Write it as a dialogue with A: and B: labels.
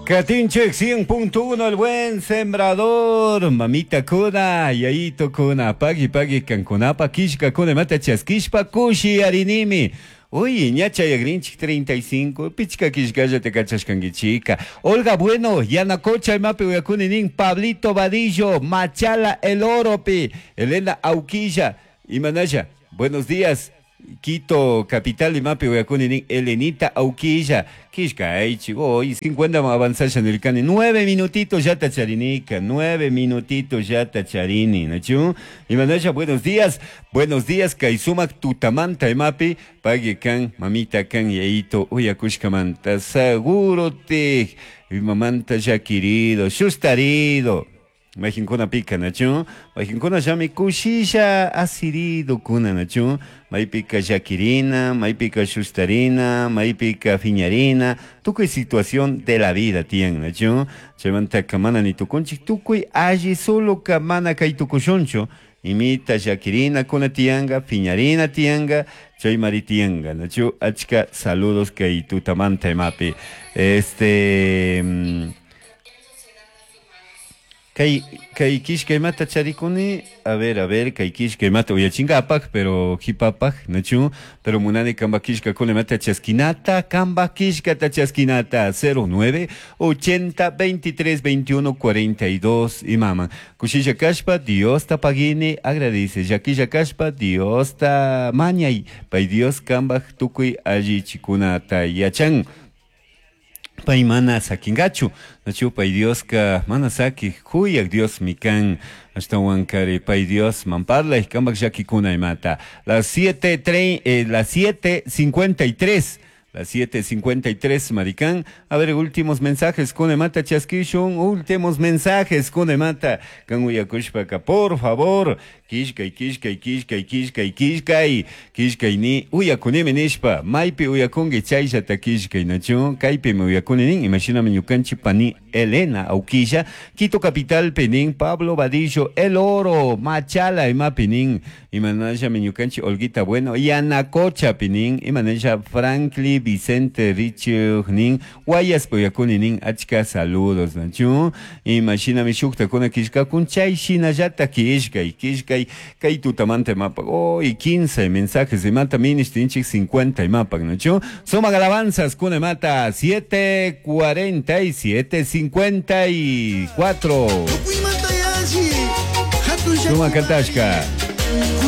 A: Katinchik 100.1 el buen sembrador, mamita kuna, yayito kuna, pagui pagui kankunapa, kishka kuna, mata chaskishpa, kushi arinimi. Uy, ña chayagrinchik 35, pichka kishkalla te kachashkankichika. Olga Bueno, Yanacocha imapi uyakuni nin, Pablito Vadillo, Machala El Oropi, Elena Auquilla, Imanaya, buenos días. Quito, capital imapi uyakuni nin, Elenita Auquilla, kishkaychik, hoy 50 avanzasha nirkani, 9 minutitos ya tacharinika, 9 minutitos ya tacharini, ¿nachu? Imanaya, buenos días, kay sumak tutamanta imapi, pague kan, mamita kan, yayito, uyakushkamanta, seguro te, mamanta ya querido, shustarido. Majinkuna pika nachu, majinkuna llami kushisha asirido kuna nachu, maypika llakirina, maypika shustarina, maypika fiñarina, tukuy situación de la vida tiyan nachu, chaymantaka mana ni tukunchik tukuy alli solo ka mana kay tukushunchu, imita llakirina kuna tiyanka, fiñarina tiyanka, chaymari tiyanka nachu, achka saludos kay tutamanta imapi. Este Kay, kay kishka imata charikuni, a ver, kay kishka imata uyachingapak, pero hipapak, nachu, pero munani kamba kishka kuna imata chaskinata, kamba kishka ta chaskinata, 09 80 23 21 42 imama. Kushisha kashpa, Dios ta pagini, agradece, yakisha kashpa, Dios ta mañay, pay Dios kamba tukuy alli chikunata yachan. Pay mana sakingachu, nachu pay Dioska mana saki, kuyak Dios mikan, ashtawan kari pay Dios mamparla y kambak llakikuna imata. Las 7:53. Las 7:53, maricán. A ver, últimos mensajes con mata chaskishun, últimos mensajes con mata. Kan uyakushpaka, por favor. Kishkay, kishkay, kishkay, kishkay, kishkay. Kishkay ni uyakunimi nishpa. Maypi uyakunki chayllata kishkay nachu. Kaypi me uyakuni nin. Imashinami ñukanchik pani Elena Auquilla. Quito Capital penin. Pablo Vadillo, El Oro, Machala imapi nin. Imanalla mi ñukanchik Olguita Bueno. Yanacocha pinin. Imanalla Franklin Vicente Richie nin. Guayas uyakuni nin. Achka saludos nachu. Imashinami shuktakuna kishkakun chay shinallata kishkay, kishkay. Kay tutamanta mapa. Oh, y 15 mensajes de mata ministrinchik 50 y mapa, ¿no? Suma alabanzas, cune mata 7:47, 54. Suma Kantashka.